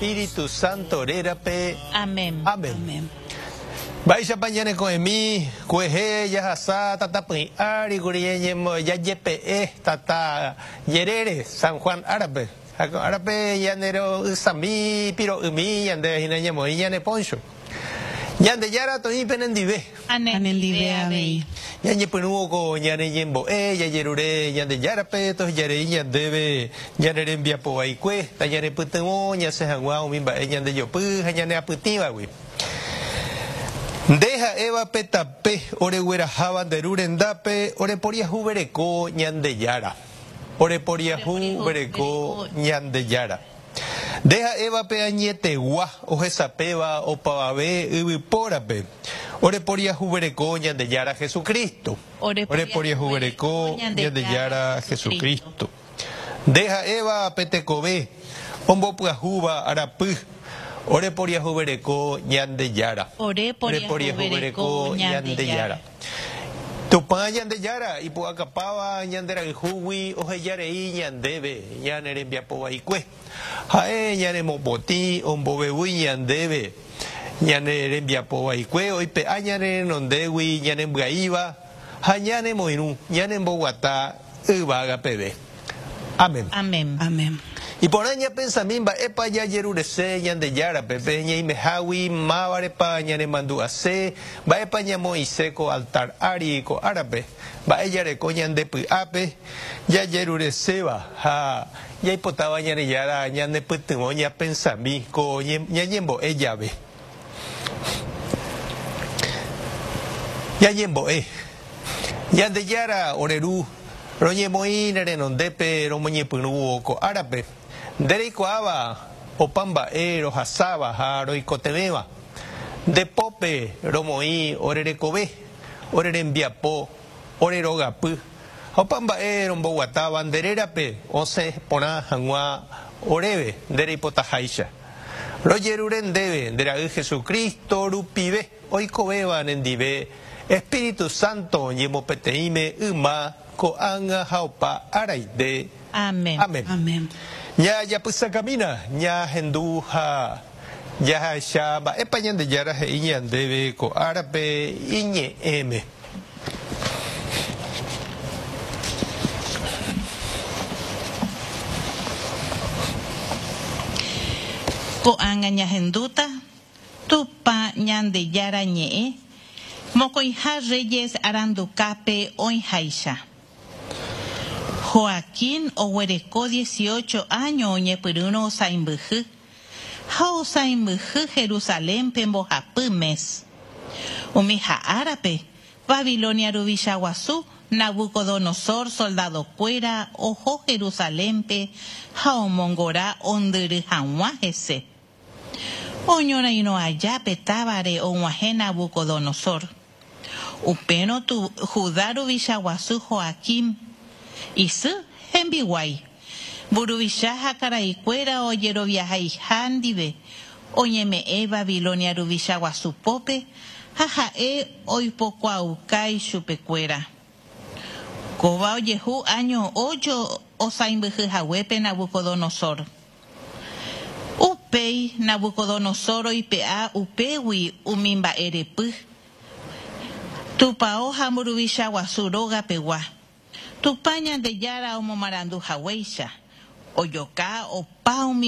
Espíritu Santo rérape. Amén. Amén. Amén. Mba'éichapa ñaneko'ẽmi kuehe jahasa tatapỹi ári kuri jajepe'e tata jerére San Juan árape. Ha ko árape ñanero'ysãmi piro'ymi ñandéve hína ñamoĩ ñane poncho. Ñandejára toĩ penendive. Ha Nendive avei. Ñañepyrũvo ko ñane ñembo'e, jajerure Ñandejárape tohejarei ñandéve ñane rembiapo vaikue, tañanepytyvõ ñasẽ hag̃ua umi mba'e ñandejopy ha ñaneapytĩvagui. Nde ha'éva pe tape oregueraháva nde Ru rendápe oreporiahuvereko Ñandejára. Oreporiahuvereko Ñandejára. Nde ha'éva pe añetegua ohesapéva opavave yvypórape, oreporiahuvereko Ñandejára Jesucristo. Oreporiahuvereko Ñandejára Jesucristo. Nde ha'éva pe tekove ombopyahúva arapy, oreporiahuvereko Ñandejára. Oreporiahuvereko Ñandejára. Tupã Ñandejára ipu'akapáva ñande rayhúgui oheja rei ñandéve ñane rembiapo vaikue. Ha'e ñanemopotĩ ombovevúi ñandéve ñane rembiapo vaikue oipe'a ñane renondégui ñanembyaíva ha ñanemoirũ ñanemboguata yvága peve. Amén. Amén. Amén. Iporã ñapensami mba'épa jajerurese Ñandejárape, pe ñaimehágui mávarepa ñanemandu'ase, mba'épa ñamoĩse ko altar ári ko árape, mba'e jareko ñande py'ápe jajerureséva ha jaipotáva Ñandejára ñanepytyvõ ñapensami ko ñañembo'e jave. Ñañembo'e. Ñandejára ore Ru, roñemoĩ ne renondépe romoñepyrũvo ko árape, nde reikuaáva opa mba'e rohasáva ha roikotevẽva. Nde pópe romoĩ ore rekove, ore rembiapo, ore rogapy, ha opa mba'e romboguatáva nde rérape osẽ porã hag̃ua oréve nde reipotaháicha. Rojerure ndéve nde Ra'y Jesucristo rupive oikovéva nendive Espíritu Santo ñemopeteĩme yma, ko'ág̃a ha opa áraite. Amén. Amén. Amén. Ñajapysakamína, ñahendu ha jahecha mba'épa Ñandejára he'i ñandéve ko árape iñe'ẽme. Ko'ág̃a ñahendúta Tupã Ñandejára Ñe'ẽ mokõiha Reyes arandukápe oĩháicha. Joaquín oguereko dieciocho áño oñepyrũrõ osãimbyhy, ha osãimbyhy Jerusalénpe mbohapy mes. Umi ha'árape, Babilonia ruvicha guasu Nabucodonosor soldadokuéra oho Jerusalénpe ha omongora ondyry hag̃ua hese. Oñorairõ aja pe távare og̃uahẽ Nabucodonosor. Upérõ Judá ruvicha guasu Joaquim, isy, hembiguái, mburuvicha ha karaikuéra ojeroviahaiha ndive, oñeme'ẽ Babilonia ruvicha guasu pópe ha ha'e oipokuaauka ichupekuéra. Kóva ojehu áño ocho osãimbyhy haguépe Nabucodonosor. Upéi Nabucodonosor oipe'a upégui umi mba'e repy, tupao ha mburuvicha guasu róga pegua, Tupã Ñandejára omomarandu haguéicha, ojoka opa umi.